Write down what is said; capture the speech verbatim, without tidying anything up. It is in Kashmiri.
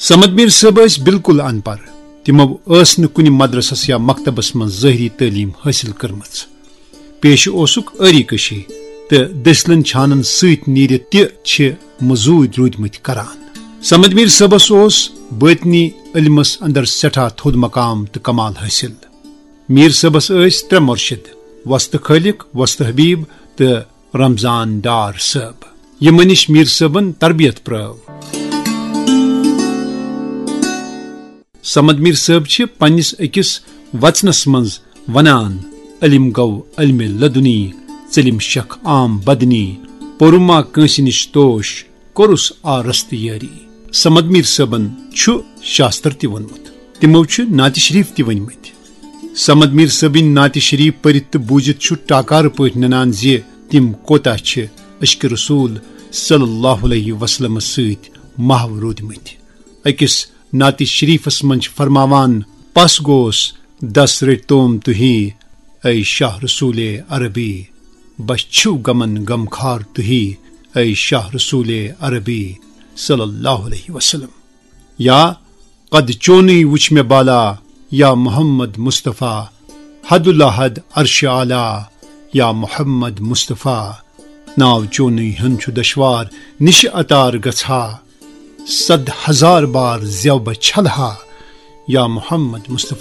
صمد میر صٲب ٲسۍ بالکل ان پڑھ۔ تِمو ٲس نہٕ کُنہِ مدرسس یا مکتبس منٛز ظٲہری تعلیٖم حٲصِل کٔرمٕژ۔ پیشہٕ اوسُکھ آری کشی تہٕ دٔسلن چھانن سۭتۍ نیٖرِتھ تہِ چھِ مٔزوٗرۍ روٗدمٕتۍ کران۔ صمد میر صٲبس اوس بٲطنی علمس اندر سٮ۪ٹھاہ تھوٚد مقام تہٕ کمال حٲصِل۔ میر صٲبس ٲسۍ ترٛےٚ مرشد، وستہٕ خٲلق، وستہٕ حبیب تہٕ رمضان ڈار صٲب، یِمن نِش میر صٲبن تربیت پرٲو۔ صمد میر صٲب چھِ پننِس أکِس وژنس منٛز ونان، "علم گوٚو علمِ لدنی، ژٔلِم شکھ عام بدنی، پوٚرُم ما کٲنٛسہِ نِش توش، کوٚرُس آ رستہٕ یٲری۔" صمد میر صٲبن چھُ شاستر تہِ ووٚنمُت، تِمو چھِ نعتِ شریف تہِ ؤنمٕتۍ۔ صمد میر صٲبٕنۍ نعتِ شریف پٔرِتھ تہٕ بوٗزِتھ چھُ ٹاکارٕ پٲٹھۍ ننان زِ تِم کوتاہ چھِ عشقِ رسول صلی اللہ علیہ وسلمس سۭتۍ محو روٗدمٕتۍ۔ أکِس نعتِ شریفس منٛز چھِ فرماوان، "پس گوس دس رٔٹۍ توم تُہی، اے شاہ رسولِ عربی، بس چھِو غمن غمخار تُہی، اے شاہ رسولِ عربی صلی اللہ علیہ وسلم۔" یا، "قد چونُے وُچھ مےٚ بالا، یا محمد مصطفیٰ، حد الحد عرش اعلیٰ، یا محمد مصطفیٰ، ناو چونُے ہن چھُ دشوار نِشہِ عطار گژھا، صد ہزار بار زٮ۪و بہٕ چھلہا، یا محمد مصطفیٰ۔"